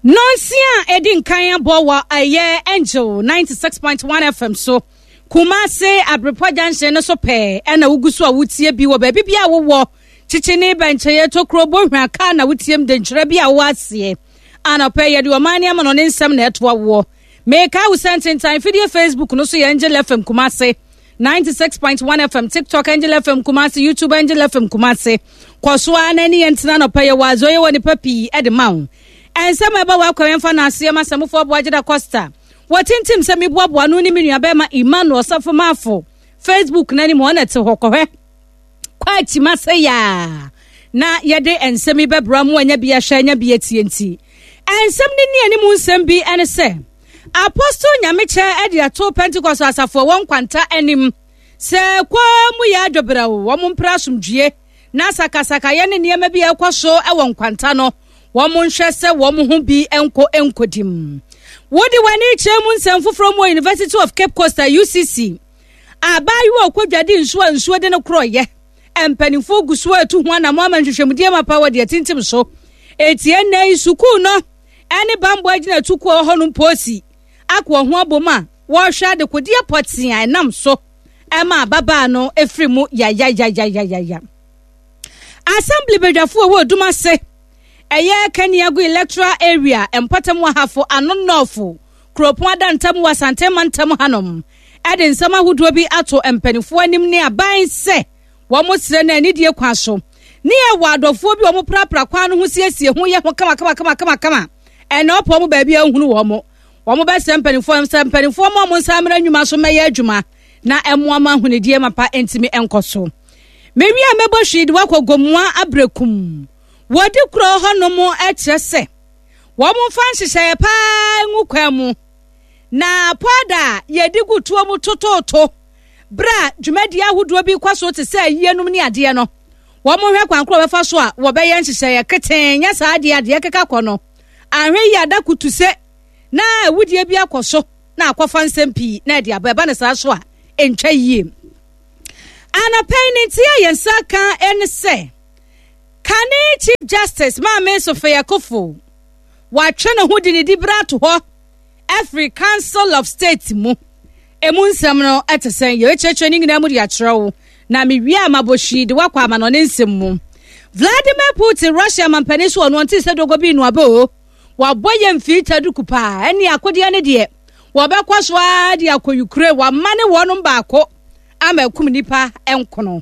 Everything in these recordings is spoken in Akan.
Nɔnsia a ɛdi nkan abɔ wɔ ɛyɛ Angel 96.1 FM so. Kumase Abrepɔ Junction no so pɛɛ ɛna wogu so a wotie bi wɔ baabi bi a wowɔ. Kyikyi ne bɛnkyɛeɛ tokuro bohwa kaa na wotiem denkyerɛ bi a wowɔ aseɛ. Anɔpɛ yɛde ɔman ne amanɔne nsɛm na ɛtoa woɔ. Meka wo sɛ ntentan fidie Facebook no so yɛ Angel FM Kumase 96.1 FM, TikTok Angel FM Kumasi, YouTube Angel FM Kumasi. Kɔ so ara na ne yɛn tena nɔpɛ yɛ wɔ adze ɔyɛ wɔ nipa pii de ma wo. Nsɛm a ɛba wɔ akwan yɛmfa no aseɛ ma sɛmfoɔ Aboagyeda Costa. Wɔtintim sɛ meboaboa no ne me nuabɛrima Emmanuel Safo Mafo. Facebook no anim ɔna te hɔ kɔhwɛ. Kɔ akyima sɛ yaa na yɛde nsɛm yi bɛbra mu anya bi ahwɛ anya bi atie nti. Nsɛm no ni anim nsɛm bi ne sɛ Apostle Nyamekyɛ de ato Pentecost asafo a ɛwɔ Nkwanta anim sɛ kwaa mu yɛ adwobrɛw, wɔn mpere asomdwie na sakasakayɛ ne nneɛma bi a ɛkɔ so wɔ Nkwanta no, wɔn nhwɛ sɛ wɔn ho bi nkɔ nkodim. Wode w'ani kyerɛ mu nsɛm foforɔ mu wɔ University of Cape Coast a UCC. Abaayewa a ɔkɔdwade nsuo a nsuo de no korɔeɛ. Mpanimfoɔ gu so atu ho anammɔn ama nhwehwɛmudie mapa wɔ deɛ tintim so. Etie nnɛ yi sukuu no ne bammɔ agyinatukuo a ɛwɔ hɔnom poosi akɔ ho abom a wɔrehwɛ adekodeɛ pɔtee a ɛnam so ma ababaa no firi mu yayayayayaya. Assembly badwafoɔ a ɛwɔ Odum ase ɛyɛ Kaniago Electoral Area mpɔtam wɔ Ahafo Ano Nɔɔfo kuropɔn adantam wɔ Asante mantam hanom de nsɛm ahodoɔ bi ato mpanimfoɔ anim ne aban sɛ wɔsrɛ no anidie kwan so ne yɛwɔ adɔfoɔ bi a wɔprapra kwan no ho siesie ho yɛ ho kama kama kama kama kama ɛna ɔpɔ wɔn baabi a nhunu wɔn. Wɔn bɛsrɛ mpanimfoɔ sɛ mpanimfoɔ ma wɔn nsa mmra nnwuma so mmɛyɛ adwuma na ɛmmoa ma ahonidie mapa ntumi nkɔ so. Mewie a mɛbɔ hwii de wakɔ Gomoa Abrɛkum. Wɔdi kuro hɔnom kyerɛ sɛ wɔn mfa nhyehyɛeɛ paa ngu kwan mu na pɔda a yɛde gu tuo mu totooto berɛ a dwumadie ahodoɔ bi kɔ so te sɛ ayienom ne adeɛ no, wɔhwɛ kwan korɔ wɔbɛfa so a wɔbɛyɛ nhyehyɛeɛ ketee, nyɛ saa adeɛ adeɛ keka kɔ no, anhwɛ yie ada kutu se na awudie bi akɔ so na akɔfa nsɛm pii na ɛde aba, ɛba ne saa so a ɛntwa yie. Anɔpa yi ne nti a yɛn nsa ka ne sɛ kane Chief Justice Maame Sophia Akuffo watwe ne ho de ne dibere ato hɔ afiri Council of State mu. Emu nsɛm no te sɛn? Yɛbɛkyerɛkyerɛ ne nyinaa mu de akyerɛ wo. Na mewie a mabɔ hwii de woakɔ amanɔne nsɛm mu. Vladimir Putin, Russia mampanin so ɔno ɔnte sɛ dogo bi nnuaba o. Wabɔ yɛ mfii taduku paa. Ɛne akodeɛ ne deɛ wɔbɛkɔ so ara de akɔ Ukraine. Wama ne wɔnom baako ama akum nnipa nkono.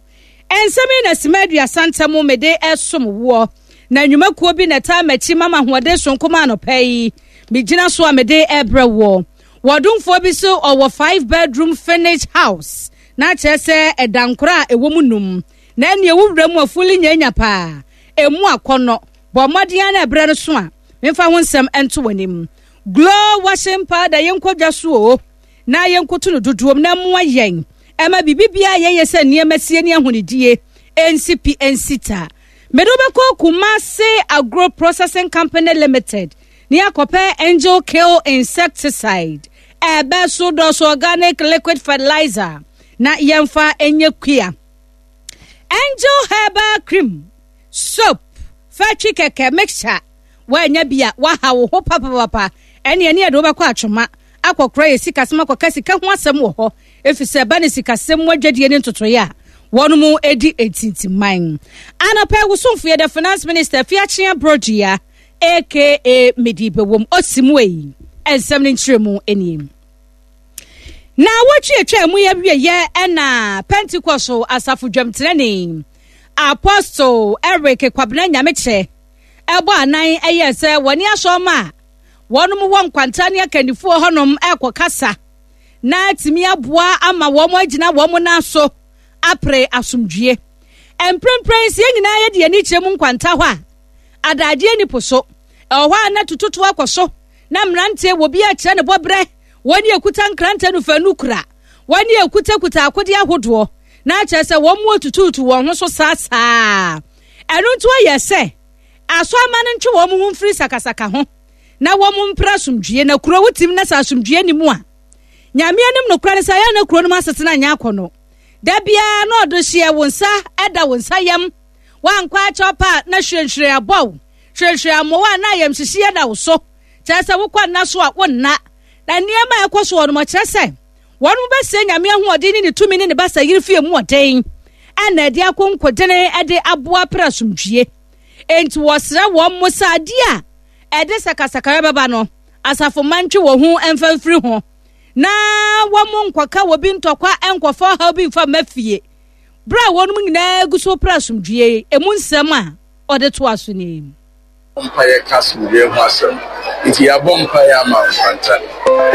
Nsɛm yi na sima 30 ntam mede ɛsom woɔ. Na nnwumakuo bi na ɛtaa m'akyi ma m'ahoɔden sononko ma anɔpa yi. Megyina so a mede ɛbrɛ woɔ. Wɔdomfoɔ bi so ɔwɔ 5 bedroom furnished house na kyerɛ sɛ ɛdankora a ɛwɔ mu num. Na ɛneɛ wo wura mu afuli nyanya paa. Ɛmu akɔnnɔ. Bɔ mmɔden ara na ɛberɛ no so a memfa ho nsɛm nto w'anim. Glow washing powder yɛnkɔ dwa so o na yɛnkoto no dodoɔm na mmoa yɛn ɛma biribi biara yɛyɛ sɛ nneɛma sie ne ahonidie ɛnsi pi ɛnsi ta. Mede wobɛkɔ Kumasi Agro Processing Company Limited ne akɔpɛ Angel Kill Insecticide, ɛbɛ so dɔso organic liquid fertilizer na yɛmfa nyɛ kua. Angel Herbal Cream, soap, fatwi kɛkɛ mixture, woanya bi a waha wo ho papapapa, ɛne ɛne ɛde wobɛkɔ atwoma akɔkora yɛ sikasɛm akɔka sika ho asɛm wɔ hɔ, ɛfiri sɛ ɛba ne sikasɛm mu adwadie ne ntotoeɛ a wɔn mu di ntintiman. Anɔpa yi wosomfo yɛ the finance minister Fiakyea Brodua aka Medi Bɛwom Osimwei nsɛm no nkyerɛmu nie. Na wɔtwe atwa mu yɛ wieyɛ ɛna Pentecost asafo dwamtenani Apostle Eric Kwabena Nyamekyɛ ɛbɔ anan ɛyɛ sɛ wɔne asɔrma a wɔnom wɔ nkwanta ne akannifoɔ hɔnom ɛkɔ kasa na atumi aboa ama wɔn agyina wɔn nan so apere asomdwie. Mprempren sɛ yɛn nyinaa yɛde yɛn ani kyerɛ mu nkwanta hɔ a, adagyeɛ ni po so. Ɛwɔ hɔ a na tututu akɔ so, na mmeranteɛ wɔ bi akyerɛ ne bɔberɛ, wɔn ne ɛkuta nkrantɛ no fanu kura, wɔn ne ɛkutakuta akodeɛ ahodoɔ, na akyerɛ sɛ wɔn mu atutuutu wɔn ho so saa saa. Ɛno nti ɔyɛ sɛ asɔremma no ntwe wɔn ho mfiri sakasaka ho na wɔn mpere asomdwie. Na kuro wotim na sɛ asomdwie ni mu a, Nyame anim nokorɛ ne sɛ ɛyɛ na kuro no mu asetena nyɛ akɔnnɔ. Da biara na ɔde hyeɛ wo nsa da wo nsa yam. Woankɔ akyɛw pa a na hwirenhwiren abɔ wo, hwirenhwiren ammɔ wo a na ayamhyehyeɛ da wo so. Kyerɛ sɛ wokɔ nna so a wonna. Na nneɛma a ɛkɔ so wɔ no kyerɛ sɛ wɔn bɛsɛ Nyame ahoɔden ne ne tumi ne ne basa yere fie mu ɔden ɛna ɛde akonkodene ɛde aboa pere asomdwie. Enti wɔsrɛ wɔn mo sɛ adeɛ a ɛde sakasakayɛ bɛba no, asafo mma ntwe wɔn ho mfa mfiri ho na wɔn nkɔka wɔ bi ntɔkwa nkɔfa ɔhaw bi mfa mma fie. Bere a wɔn nyinaa gu so pere asomdwie, emu nsɛm a ɔde toa so nie. Mpaeɛ ka asomdwoeɛ ho asɛm. Nti yɛabɔ mpaeɛ ama nkwanta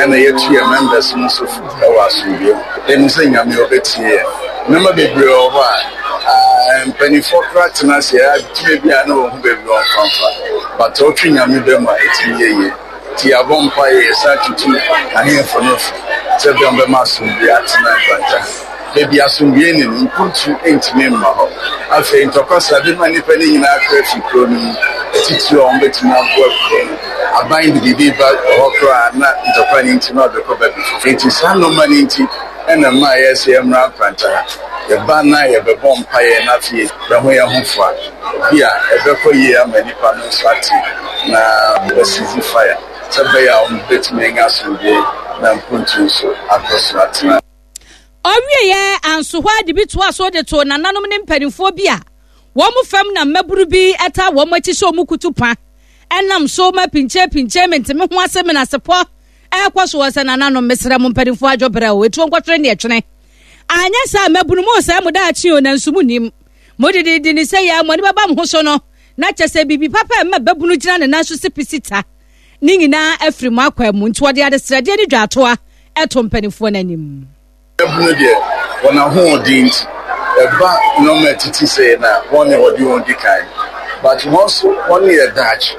ɛna yɛatu yɛn members no nso fo wɔ asomdwoeɛ ho. Yɛnim sɛ Nyame ɔbɛtie yɛn. Nnoɔma bebree wɔ hɔ a mpaninfoɔ koraa tena ase a tumi bi a na wɔhu baabi wɔmfa mfa but wotwe Nyame ba mu a ɛtumi yɛ yie. Nti yɛabɔ mpaeɛ yɛsan tutu ahemfo no fo sɛ bɛ wɔbɛma asomdwoeɛ atena nkwanta ha. Baabi asomdwoe nni no, mpuntu ntumi mma hɔ. Afei ntɔkwa saa bɛma nnipa no nyinaa akra afi kurow no mu, atitiriw a wɔbetumi aboa kurow no. Aban de biribi ba hɔ koraa a, na ntɔkwa no nti na ɔde kɔ baabi foforo. Enti saa nneɛma no nti na ɛma ɛyɛ sɛ yɛmmra nkwanta ha. Yɛba na yɛbɛbɔ mpaeɛ na afei yɛaho yɛn ho fo a, bi a ɛbɛkɔ yie ama nnipa no nso ate na wɔaseize fire sɛ ɛbɛyɛ a wɔbɛtumi anya asomdwoe na mpuntu nso akɔ so atena. Ɔwieeɛ anso hɔ ara de bi toaa so de too nananom ne mpanimfoɔ bi a wɔn fam na mmabunu bi taa wɔn akyi sɛ wɔn kutu pa nam so ma pinkye-pinkye mente-me-ho-ase menasepɔ ɛrekɔ so wɔ sɛ nananom mesrɛ mo mpanimfoɔ adwo brɛ o etuo nkɔtwene ne ɛtwene anyɛ saa mmabunu mo sɛ mo daakye o nanso mo nim mo dididi ne sɛ yɛ mo ani bɛba mo ho so no na kyɛ sɛ biribi papa ɛma babunu gyina ne nan so si pisita ne nyinaa afiri mo akwan mu nti wɔde adesrɛdeɛ ne dwaatoa to mpanimfoɔ no anim. Mmabunu deɛ, wɔn ahoɔden nti, ɛba nneɛma a ɛtete sei no a, wɔn na wɔde wɔn di kan. But wɔn nso, wɔn yɛ daakye.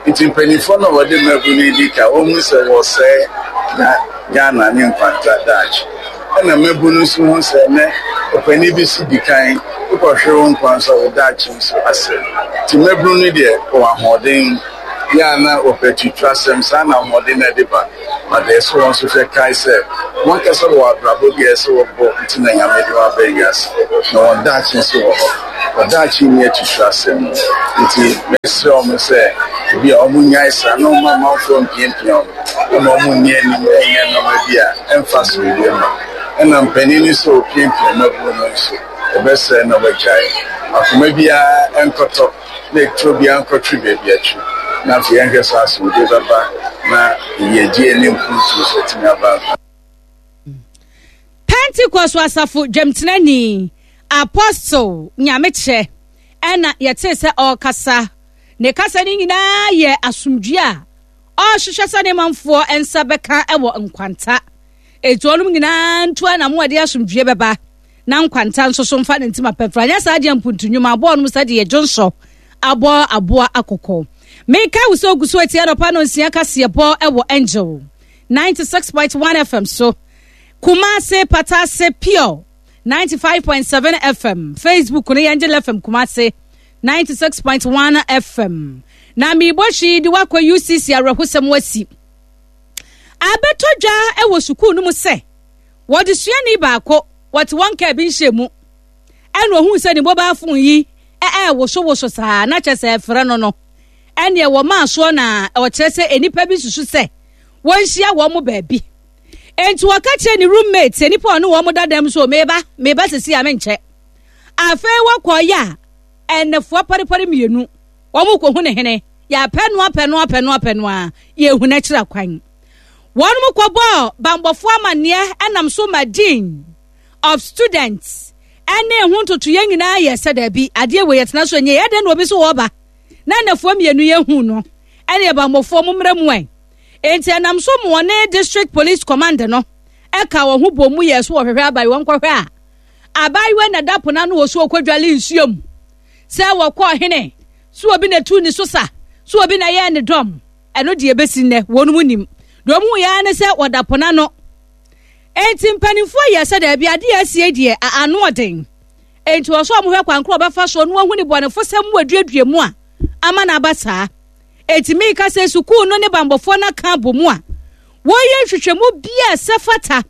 Nti mpanimfoɔ no a wɔde mmabunu yi di kan, wɔhu sɛ wɔresɛe Ghana ne nkwanta daakye. Ɛna mmabunu nso hu sɛ ɛnnɛ ɔpanin bi si di kan, wokɔhwere wo nkwa nso a, wo daakye nso asɛe. Nti mmabunu no deɛ, wɔwɔ ahoɔden. Yɛ a na wɔpɛ atuturasɛm, saa na ahoɔden no de ba. But ɛsɛ sɛ wɔn nso hwɛ kae sɛ wɔn ankasa wɔ abrabɔ bi a ɛsɛ sɛ wɔbɔ nti na Nyame de wɔn aba wiase. Na wɔn daakye nso wɔ hɔ. Wɔn daakye nni atuturasɛm mu. Nti mɛsrɛ wɔn sɛ ebi a wɔn nnyae saa na wɔn mma amanfoɔ mpiapia wɔn ma wɔn nni anim nyɛ nnoɔma bi a ɛmfa asomdwoeɛ mma. Ɛna mpanin no sɛ wɔpiapia mmabunu no nso, yɛbɛsrɛ na wɔagyae. Akoma biara nkɔtɔ. na eturo biara nkɔtwe baabi atwi, na afei yɛnhwɛ sɛ asomdwoe bɛba na yiyedie ne mpuntuo nso atumi aba nkwa. Pentecost asafo dwamtenani Apostle Nyamekyɛ ɛna yɛtee sɛ ɔrekasa. Ne kasa no nyinaa yɛ asomdwoe a ɔrehwehwɛ sɛ ne manfoɔ nsa bɛka wɔ nkwanta. Enti wɔnom nyinaa ntu anamo a ɛde asomdwoe bɛba. na nkwanta nso so mfa ne ntima pɛfra anyɛ saa deɛ mpuntu nnwuma aboa nom sɛdeɛ dwonsɔ abɔ aboa akɔkɔ. Meka wo sɛ ogu so atia anɔpa no nsia kaseɛbɔ wɔ Angel 96.1 FM so, Kumase Patase Pure 95.7 FM, Facebook no yɛ Angel FM Kumase 96.1 FM. Na merebɔ hwii de wakɔ UCC awerɛhosɛm asi. Abɛtɔ dwa wɔ sukuu no mu sɛ Wɔde suani baako, wɔte wɔn kaa bi nhyɛ mu, ɛna ohuu sɛ ne mobile phone yi ɛɛwosowoso saa na kyɛ sɛ ɛfrɛ no no, ɛneɛ wɔmaa soɔ na ɔkyerɛ sɛ nnipa bi susu sɛ wɔnhyia wɔn mo baabi. Enti wɔka kyerɛ ne roommate sɛ nnipa ɔne wɔn da dɛm so meba, meba sisi a menkyɛ. Afei wɔkɔɔyɛ a ɛnɛfoɔ parepare mmienu wɔn kɔhu ne hene, yɛapɛ no apɛ no apɛ no apɛ no a yɛhu n'akyira kwan. Wɔkɔbɔɔ banbɔfoɔ amanneɛ nam so ma Dean of Students ne ho ntotoeɛ nyinaa yɛ sɛ daabi, adeɛ wei yɛtena so nyɛ, ɛdɛn na obi so wɔba na nnafua mmienu yɛhu no, ɛne banbɔfoɔ mo mmra mu ɛ. Enti ɛnam so ma wɔne District Police Command no ɛka wɔn ho bɔ mu yɛ so wɔhwehwɛ abayewa nkɔhwɛ a abayewa na da pono ano wɔ so ɔkɔdwale nsuo mu sɛ wɔkɔɔ hene so obi na tu ne so sa so obi na yɛɛ ne dɔm. Ɛno deɛ ɛbɛsi nnɛ, wɔnom nnim. Deɛ wɔn huiɛ ara ne sɛ wɔda po no ano. Enti mpanimfoɔ yɛɛ sɛ daabi, adeɛ a asie deɛ, ano ɔden. Enti wɔ sɛ wɔhwɛ kwan korɔ wɔbɛfa soɔ na wɔahu ne bɔnefosɛm mu aduadua mu a ama no aba saa. Enti meka sɛ sukuu no ne banbɔfoɔ no aka abɔ mu a wɔreyɛ nhwehwɛmu bi a ɛsɛ fata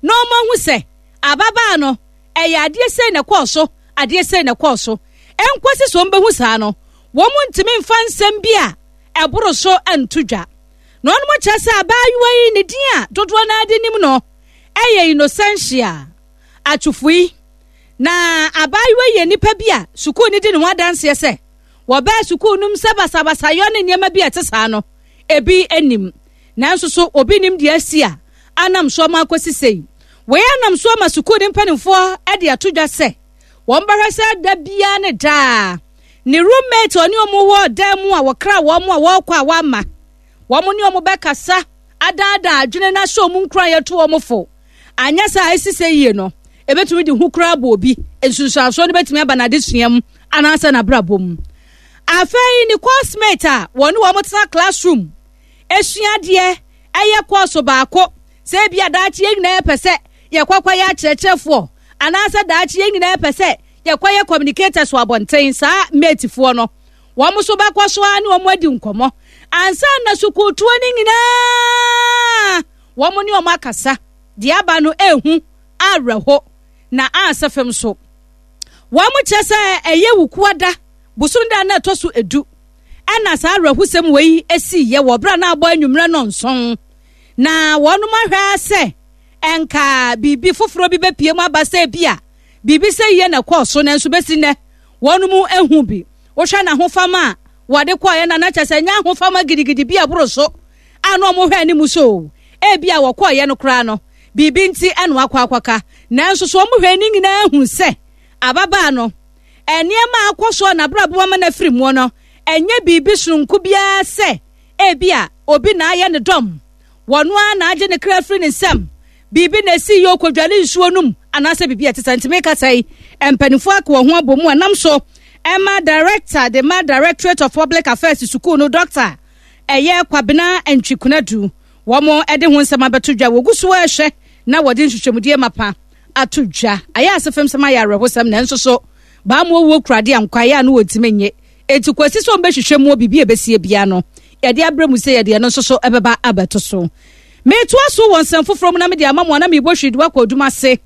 na wɔahu sɛ ababaa no ɛyɛ adeɛ sei na ɛkɔɔ so, adeɛ sei na ɛkɔɔ so. Ɛnkɔsi sɛ wɔbɛhu saa no, wɔntumi mfa nsɛm bi a ɛboro so nto dwa. Na wɔn kyerɛ sɛ abaayewa yi ne din a dodoɔ no ara de nim no yɛ Innocentia Atwofui. Na abaayewa yi yɛ nipa bi a sukuu no di ne ho adanseɛ sɛ wɔbaa sukuu no mu sɛ basabasayɔ ne nneɛma bi a ɛte saa no ebi nnim. Nanso so obi nim deɛ asi a anam so ama akɔsi sei? Wei anam so ama sukuu no mpanimfoɔ de ato dwa sɛ wɔbɛhwɛ sɛ da biara ne daa ne roommate ɔne wɔn wɔ dan mu a wɔkra wɔn a wɔrekɔ a wɔama wɔn ne wɔn bɛkasa adaadaa adwene no ahyɛ wɔn nkuran yɛto wɔn fo. Anyɛ saa a esi sɛ yie no, ebetumi de hu koraa abɔ obi. Nsunsuansoɔ no betumi aba n'adesua mu anaasɛ n'abrabɔ mu. Afei ne coursemate a wɔne wɔn tena classroom esua adeɛ ɛyɛ kɔɔso baako sɛ ebi a daakye yɛn nyinaa pɛ sɛ yɛkɔkɔyɛ akyerɛkyerɛfoɔ anaasɛ daakye yɛn nyinaa pɛ sɛ yɛkɔyɛ communicators wɔ abɔnten saa matefoɔ no wɔn nso bɛkɔ so ara ne wɔn adi nkɔmmɔ ansa na sukuutoɔ no nyinaa wɔn ne wɔn akasa deɛ aba no ehu awerɛho na asɛ fam so wɔn kyerɛ sɛ ɛyɛ wukuada bosom da na ɛtɔ so edu ɛna saa awerɛhosɛm wei esi yɛ wɔ berɛ a na abɔ anwummerɛ nɔnson na wɔn ahwɛ sɛ ɛnka biribi foforɔ bi bɛpie mu aba sɛ bi a biribi sɛ yie na ɛkɔɔ so nanso bɛsi nnɛ wɔn mu ehu bi wohwɛ n'ahofama a wɔde kɔɔeɛ na na kyɛ sɛ nyɛ ahofama gidigidi bi a ɛboro so a na wɔhwɛ anim so ebi a wɔkɔɔeɛ no koraa no biribi nti ɛna wakɔ akɔka nanso so wɔn hwɛ ne nyinaa hu sɛ ababaa no nneɛma a akɔ so a n'abrabɔ ama no afiri mu no ɛnyɛ biribi sononko biara sɛ ebi a obi na ayɛ ne dɔm wɔn ara na agye ne kra afiri ne nsam biribi na esi yɛ okodwale nsuo no mu anaasɛ biribi a ɛte sɛ ntumi kasa yi mpanimfoɔ aka wɔn ho abɔ mu a nam so ɛma director de ma Directorate of Public Affairs sukuu no doctor ɛyɛ Kwabena Ntwikunadu wɔn de ho nsɛm abɛto dwa wɔgu so ɛrehwɛ na wɔde nhwehwɛmudie mapa ato dwa ayɛ ase fam sɛm ayɛ awerɛhosɛm nanso so baa mu owuo kurade a nkwaeɛ a no wɔntumi nye eti kwasi sɛ wɔbɛhwehwɛ mu biribi a ɛbɛsie bia no yɛde abrɛ mu sɛ yɛde ɛno nso so ɛbɛba abɛto so metoa so wɔ nsɛm foforɔ mu na mede ama mu a na mebɔ hwiri de wakɔ adwuma ase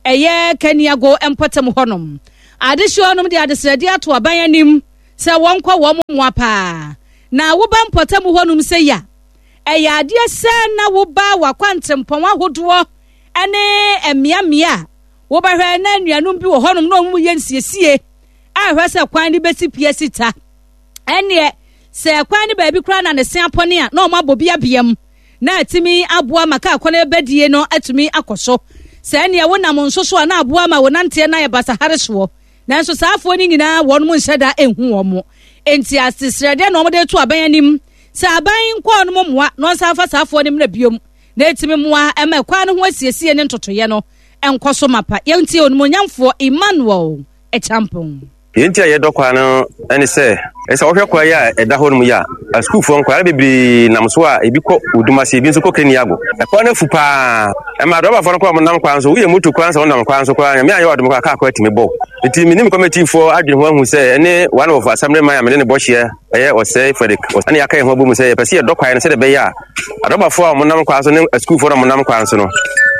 ɛyɛ kaniago mpɔtam hɔnom adehyeɛ hɔnom de adesrɛdeɛ ato aban anim sɛ wɔnkɔ wɔn mmoa paa na woba mpɔtam hɔnom sɛ ya ɛyɛ adeɛ sɛ na woba wakwantempɔn ahodoɔ ne mmeammea a wobɛhwɛ na anuanom bi wɔ hɔnom na wɔn yɛ nsiesie a ɛhwɛ sɛ kwan no bɛsi pia si ta ɛneɛ sɛ kwan no baabi koraa na ne se apɔne a na wɔn abɔ bi abea mu na atumi aboa ma kaa kwan bɛdie no atumi akɔ so sɛ ɛneɛ wonam nso so a na aboa ma wɔnanteɛ no ayɛ basahare soɔ nanso saa afoɔ no nyinaa wɔn mo nhyɛ da nhu wɔn mo nti asesrɛdeɛ na wɔn de to aban anim sɛ aban nkɔɔ no mo mmoa na wɔnsan fa saa afoɔ no mmerɛ biom na ɛtumi mmoa ɛma ɛkwan no ho asiesie ne ntotoyɛ no nkɔ so mapa. Yɛntie Onimuonyamfoɔ Emmanuel Acheampong. Deɛ nti a yɛdɔ kwa no ne sɛ, sɛ wohwɛ kwa yi a ɛda hɔ nom yi a, asukuufoɔ nkwadaa bebree nam so a ebi kɔ Odumase, ebi nso kɔ Keniago. Ɛkwan no afu paa. Ɛma adrɔbafoɔ no koraa wɔnam kwan so, woyɛ moto koraa sɛ wonam kwan so koraa, Nyame anyɛ wo adom koraa kaa koraa tumi bɔ wo. Nti me ne me kɔmɛtiifoɔ adwene ho ahu sɛ ɛne one of assemblyman a me ne no bɔ hyeɛ ɛyɛ Ɔsɛe Frederick ɛne yɛaka yɛn ho abom sɛ yɛpɛ sɛ yɛdɔ kwan no sɛdeɛ ɛbɛyɛ a adrɔbafoɔ a wɔnam kwan so ne asukuufoɔ no a wɔnam kwan so no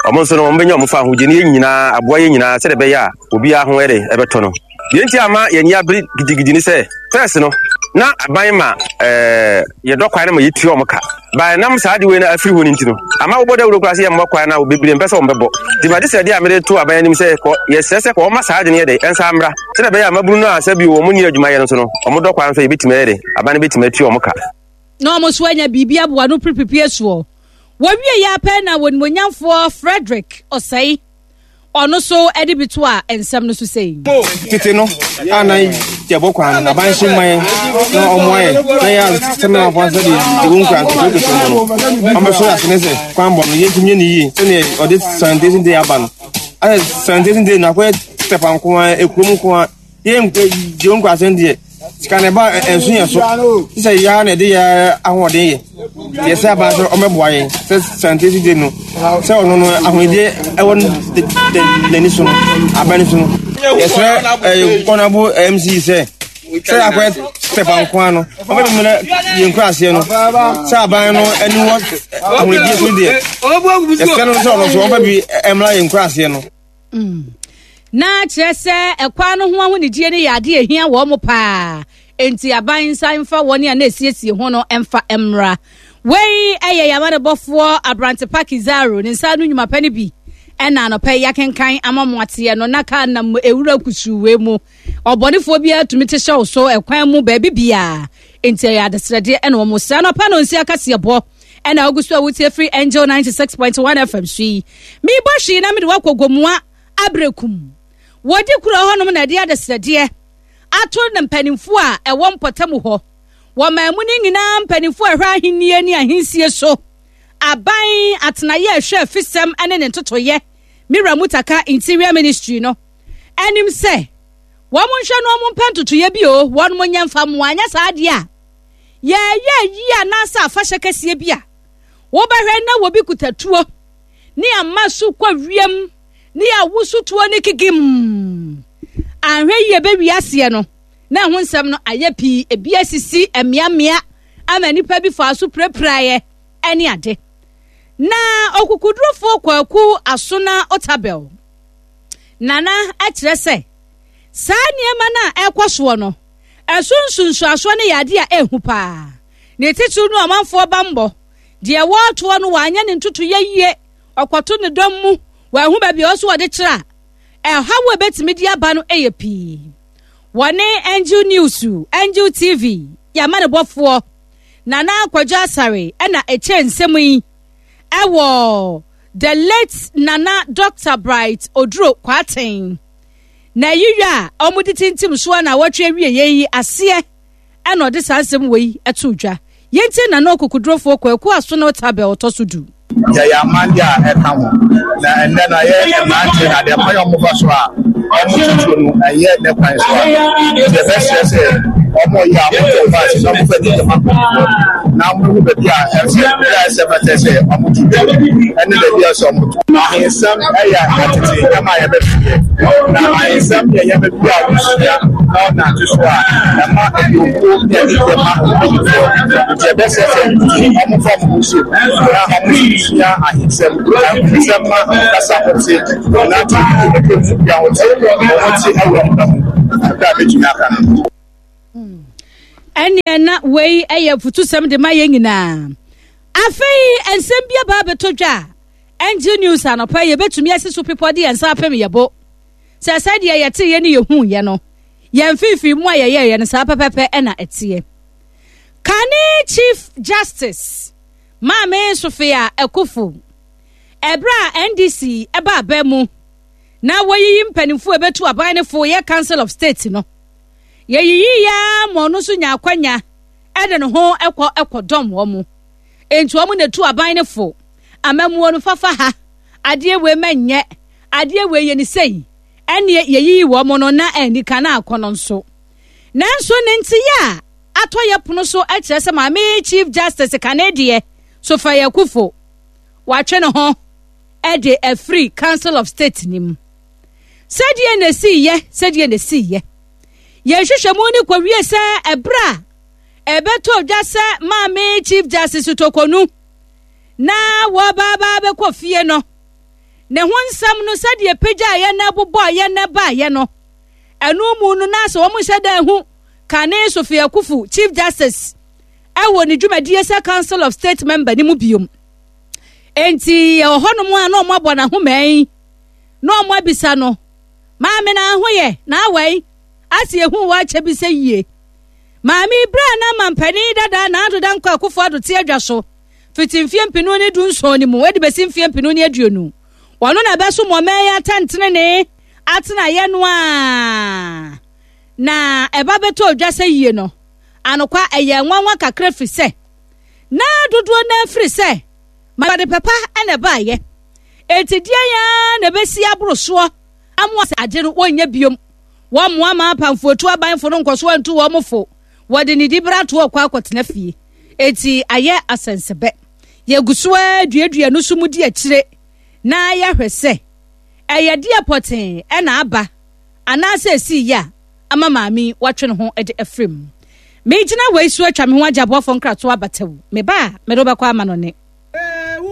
wɔn nso no wɔbɛnya wɔn fa ahodie ne yɛn nyinaa aboa yɛn nyinaa sɛdeɛ ɛbɛyɛ a obiara ho ɛde ɛbɛtɔ no. Deɛ nti ama yɛn ani abere gidigidi ne sɛ first no na aban ma ɛɛ yɛdɔ kwan no ma yɛtua wɔn ka ba ɛnam saa de wei no afiri hɔ no nti no ama wobɔ dawuro koraa sɛ yɛmmɔ kwan no a bebree mpɛ sɛ wɔbɛbɔ nti made sɛ deɛ a mede to aban anim sɛ kɔ yɛsrɛ sɛ kɔ wɔma saa de no yɛ de ɛnsa mmra sɛdeɛ ɛbɛyɛ a mmabunu no a sɛ bio wɔn nni adwuma yɛ no nso no wɔn dɔ kwan so yɛbɛtumi ayɛ de aban no bɛtumi atua wɔn ka. Na wɔn nso anya biribi aboa no piripiripie soɔ. Wɔwie yɛ apɛ na wɔnimonyamfoɔ Frederick Ɔsɛe ɔno so de bi to a nsɛm no so sei. Tete no a na yɛbɔ kwan no aban hyɛ mman na ɔmoa yɛ na yɛ asɛm na afɔ sɛ de de wɔn nkura nso kɛse mu no ɔmbɛso yɛ asene sɛ kwan bɔ no yɛntumi nyɛ ne yie sɛdeɛ ɔde sanitation day aba no ayɛ sanitation day no akɔyɛ tɛpa nko ara ekurom nko ara yɛn de wɔn nkura asɛm deɛ sika na ɛba ɛnso yɛn so sɛ yɛa na ɛde yɛ ahoɔden yɛ deɛ sɛ aban sɛ ɔmɛboa yɛn sɛ sanitation day no sɛ ɔno no ahoɔden ɛwɔ n'ani so no aban no so no yɛsrɛ ɛyɛ kɔnabo mc sɛ sɛ akɔyɛ step nko ano ɔbɛbi mu na yɛn kura aseɛ no sɛ aban no ani wɔ ahoɔden so deɛ yɛsrɛ no sɛ ɔno so ɔbɛbi ɛmla yɛn kura aseɛ no. Na kyerɛ sɛ ɛkwan no ho ahonidie no yɛ adeɛ ehia wɔn mo paa. Enti aban nsa mfa wɔn a na esiesie ho no mfa mmra. Wei yɛ yɛn amanebɔfoɔ Aberante Pa Kizaro ne nsa ano nnwuma pa no bi ɛna anɔpa yi akenkan ama mo ateɛ no na kaa nam ewura kusuu wei mu. Ɔbɔnefoɔ biara tumi te hyɛ wo so ɛkwan mu baabi biara. Nti ɛyɛ adesrɛdeɛ ɛna wɔn srɛ. Anɔpa no nsi akaseɛbɔ ɛna ogu so a wotie firi Angel 96.1 FM so yi. Mebɔ hwee na mede wakɔ Gomoa Aberekum. Wɔdi kuro hɔnom na ɛde adesrɛdeɛ ato ne mpanimfoɔ a ɛwɔ mpɔtam hɔ. Wɔmaa mu no nyinaa mpanimfoɔ a ɛhwɛ ahennie ne ahensie so, aban atenaeɛ a ɛhwɛ afisɛm ne ne ntotoeɛ, Mira Mutaka Interior Ministry no anim sɛ wɔn nhwɛ no wɔn mpɛ ntotoeɛ bi o, wɔn nyɛ mfa mmoa, anyɛ saa adeɛ a yɛyɛ ayi anaasɛ afahyɛ kɛseɛ bi a wobɛhwɛ na wɔbi kuta tuo ne ama so kɔ wiem ne awoso tuo ne kigim anhwɛ yie bɛwi aseɛ no na ɛho nsɛm no ayɛ pii, ebi asisi mmeammea ama nnipa bi faa so pirapiraeɛ ne ade. Na okukudurofoɔ Kwaku Asona Otabel Nana kyerɛ sɛ saa nneɛma no a ɛrekɔ soɔ no, ɛso nsunsuansoɔ no yɛ adeɛ a ɛhu paa. Ne titiriw no ɔmanfoɔ bammɔ, deɛ wɔretoɔ no wɔanyɛ ne ntotoyɛ yie, ɔkɔto ne dɔm mu, wɔahu baabi a ɔwɔ so wɔde kyerɛ a, ɛhaw a ɛbɛtumi de aba no yɛ pii. Wɔne Angel News, Angel TV, yɛ amanebɔfoɔ Nana Kwadwo Asare na ɛkyɛ nsɛm yi ɛwɔ The late Nana Dr. Bright Oduro Kwarteng na ayiyɔ a wɔde tintim soɔ na wɔtwe awieɛ yi aseɛ ɛna ɔde saa nsɛm wei ɛto dwa. Yɛntie Nana Okokodurofoɔ Kwaku Asono Tabel ɔtɔ so du. Yɛyɛ aman deɛ a ɛka ho, na ɛnnɛ no ayɛ mmerante na deɛ kwan a wɔfa so a wɔtutuo no ɛnyɛ ne kwan so a. Nti yɛbɛsrɛ sɛ wɔyɛ a wɔntɔ wɔn ase na wɔmfa anigye ma mpanimfoɔ na wɔhu baabi a ɛsɛ baabi a ɛsɛ fata sɛ wɔtutu ɛne baabi a ɛsɛ wɔto. Ahensɛm yɛ atete nneɛma a yɛbɛhwehwɛ, na ahensɛm yɛ nneɛma bi a wosua na wɔnante so a ɛma aduokuo ne anigyeɛ ma mpanimfoɔ. Nti ɛbɛsɛ sɛ wɔmfa wɔn ho nhyɛ mu na wɔsua ahensɛm. Ahensɛm ma kasa ho te, wɔnante yie, ɛtwa ho te, wɔn te wɔ nnipa mu. Kakra a mɛtumi aka no. Ɛnneɛ na wei yɛ afutusɛm de ma yɛn nyinaa. Afei nsɛm bi aba abɛtɔ dwa a Angel News anɔpa yi yɛbɛtumi asi so pepɔ de yɛn nsa apem yɛn bo sɛ sɛdeɛ yɛteeɛ ne yɛhuuiɛ no, yɛn mfimfini mu a yɛyɛeɛ no saa pɛpɛpɛ na ɛteɛ. Kane Chief Justice Maame Sophia Akuffo, ɛberɛ a NDC ɛba aba mu na wɔyiyi mpanimfoɔ a ɛbɛtu aban no fo yɛ Council of State no, yɛyiyi ya ma ɔno nso nya akwanya de ne ho kɔ kɔdɔm wɔn. Enti wɔn na etu aban no fo. Amammuo no fafa ha, adeɛ wei ma nyɛ, adeɛ wei yɛ ne sei. Ɛnneɛ yɛyiyi wɔn no na anni kan na akɔ no nso. Nanso ne nteyɛ a atɔ yɛ pono so kyerɛ sɛ Maame Chief Justice kane deɛ, Sophia Akuffo, watwe ne ho de afiri Council of State no mu. Sɛdeɛ na ɛsiiɛ, sɛdeɛ na ɛsiiɛ. Yɛn nhwehwɛmu no kɔwie sɛ ɛberɛ a ɛbɛtɔ dwa sɛ Maame Chief Justice Tokonu na wɔbaaba bɛkɔ fie no, ne ho nsɛm no sɛdeɛ pagyaeɛ na ɛbobɔeɛ na ɛbaeɛ no, ɛno mu no na sɛ wɔn nhyɛ da ahu kane Sophia Akuffo Chief Justice ɛwɔ ne dwumadie sɛ Council of State member no mu biom. Enti ɛwɔ hɔnom a na wɔn abɔ n'ahoma yi na wɔn abisa no, Maame na ho yɛ na awɛn ase ehu wɔ akyɛ bi sɛ yie. Maame yi berɛ a na mampanin dada Nana Addo Dankwa Akufo Addo te adwa so fiti mfeɛ mpenu ne dunson no mu de bɛsi mfeɛ mpenu ne aduonu. Ɔno na ɛbɛsom ɔman yi atɛntenenee atenaeɛ no a na ɛba bɛtɔ dwa sɛ yie no. Anokwa ɛyɛ nwanwa kakra firi sɛ na dodoɔ no afiri sɛ ma de pɛpa na ɛbaeɛ. Enti deɛn ara na ɛbɛsi aboro soɔ amoa sɛ ade no wɔnyɛ biom. Wɔmmoa ma apamfoɔtu abanfo no nkɔso antu wɔn fo. Wɔde ne dibere ato ɔkɔ akɔtena fie. Enti ayɛ asɛnsɛbɛ. Yɛgu so ara duadua no so mu di akyire na yɛahwɛ sɛ ɛyɛ deɛ pɔtee na aba anaasɛ ɛsii yɛ a ama maame yi watwe ne ho de afiri mu. Megyina wei so atwa me ho agye aboafoɔ nkratoɔ abatawu. Meba a, mede wo bɛkɔ ama no ne.